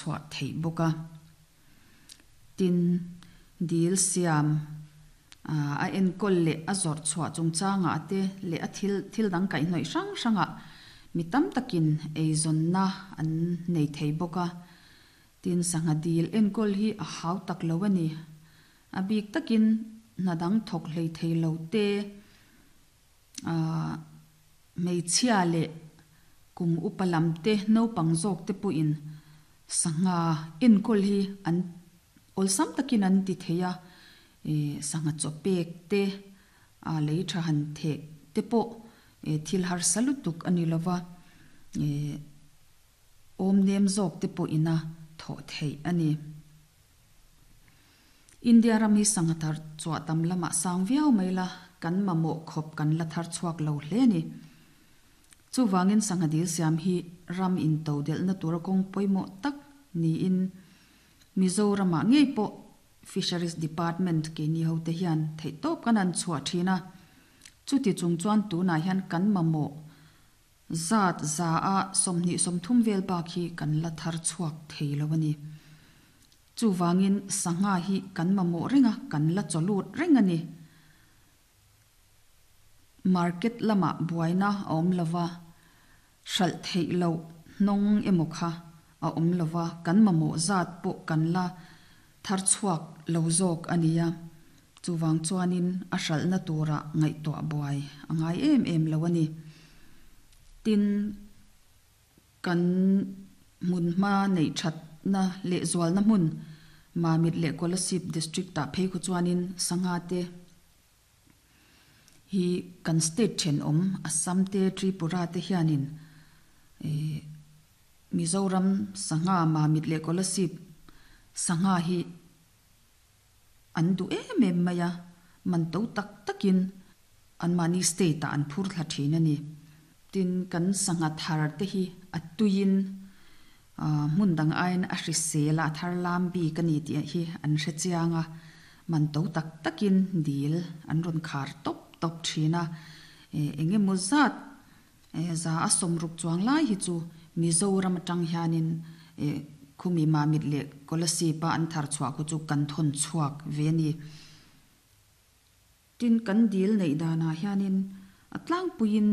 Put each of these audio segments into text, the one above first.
Chhuah theih bawk a. Tin, dil siam a enkawl leh a zawrh chhuah chungchangah te leh a thil thil dang kaihhnawih hrang hrangah mi tam takin eizawnna an nei thei bawk a. Tin, sangha dil enkawl hi a hau tak lo a ni. A bik takin hna dang thawk hlei thei lo te, Hmeichhia leh kum upa lam te naupang zawk te pawhin sangha enkawl hi an awlsam takin an ti thei a, sangha chaw pek te, lei tha han theh te pawh thil harsa lutuk a ni lova, awm nem zawk te pawhin a thawh theih a ni. India ram hi sangha thar chhuah tam lamah sang viau mai la, kan mamawh khawp kan la thar chhuak lo hle a ni. Chuvangin sangha dil siam hi ram into delhna tura kawng pawimawh tak niin Mizoramah ngei pawh Fisheries Department keini hote hian theihtawp kan han chhuah thin a. Chuti chung chuan tunah hian kan mamawh Zat za a 23 vel bak hi kan la thar chhuak thei lo a ni. Chuvangin sangha hi kan mamawh reng a, kan la chaw lut reng a ni. Market lamah buaina a awm lo va, hralh theih loh hnawng emaw kha a awm lo va, kan mamawh zat pawh kan la thar chhuak lo zawk a nia. Chuvang chuanin a hralhna tura ngaihtuah buai a ngai em em lo a ni. Tin, kan hmunhma neih thatna leh zualna hmun Mamit leh Kolasib District-ah phei khu chuanin sangha te hi kan state thenawm Assam te Tripura te hianin Mizoram sangha Mamit leh Kolasib sangha hi An duh em em mai a, man to tak takin anmahni state ah an phur thla thin a ni. Tin, kan sangha thar te hi a tuiin hmun dang aiin a hrisel a, a thar lam bik a ni tih hi an hre chiang a, man to tak takin dil an rawn khar tawp tawp thin a, eng emaw zat Za a 60 chuang lai hi chu Mizoram atang hianin khumi Mamit leh Kolasib a an thar chhuah khu chu kan thawn chhuak ve a ni. Tin, kan dil neih danah hianin a tlangpuiin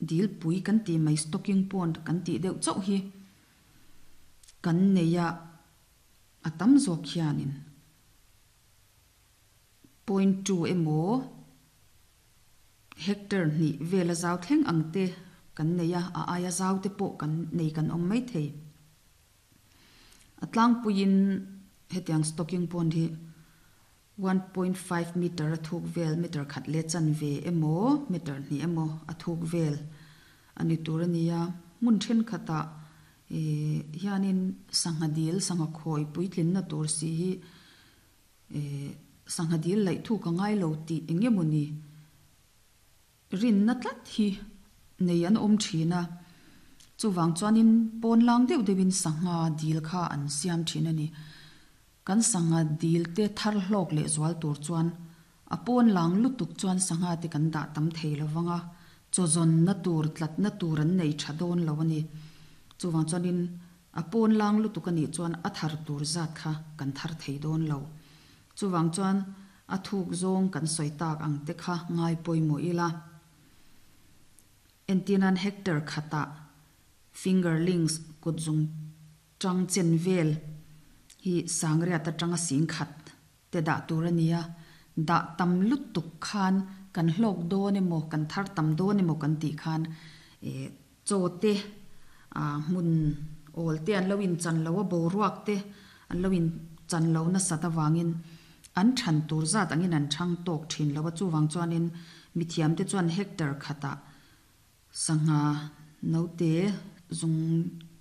dil pui kan tih mai stocking pond kan tih deuh chauh hi kan nei a, a tam zawk hianin point two emaw Hectare hnih vela zau thleng ang te kan nei a, a aia zau te pawh kan nei kan awm mai thei. A tlangpuiin hetiang stocking pond hi 1.5 meter a thuk vel, meter khat leh chanve emaw, meter hnih emaw a thuk vel a ni tur a ni a. Hmun thenkhatah hianin sangha dil, sangha khawi puitlinna tur si hi Sangha dil laih thu ka ngai lo tih eng emaw ni rinna tlat hi nei an awm thin a, chuvang chuanin pawn lang deuh deuhin sangha dil kha an siam thin a ni. Kan sangha dil te thar hlawk leh zual tur chuan a pawn lang lutuk chuan sangha te kan dah tam thei lo vang a, chawzawnna tur tlatna tur an nei tha dawn lo a ni. Chuvang chuanin A pawn lang lutuk a nih chuan a thar tur zat kha kan thar thei dawn lo. Chuvang chuan a thuk zawng kan sawi tak ang te kha ngai pawimawh ila. Entirnan hectare khatah fingerlings kut zung tang chen vel hi sangriat atanga sing khat te dah tur a ni a, dah tam lutuk khan kan hlawk dawn emaw kan thar tam dawn emaw kan tih khan Chaw te, hmun awl te an lo inchan lo a, boruak te an lo inchan lo nasat avangin an than tur zat angin an chhang tawk thin lo a, chuvang chuanin mithiam te chuan hectare khatah sangha note zung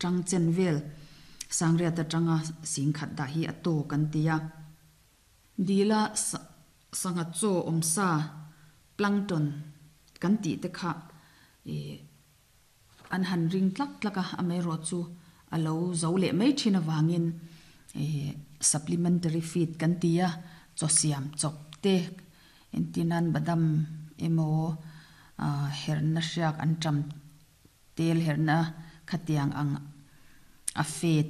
tang chen vel sangriat atanga sing khat dah hi a tawk an ti a. Dila sangha chaw awmsa plankton kan tih te kha ih an han ring tlak tlak a, amaherawh chu a lo zo leh mai thin avangin ih supplementary feed kan ti a, chaw siam chawp te entir nan badam emaw ah herna hriak an tam tel herna khatiang ang. A fe.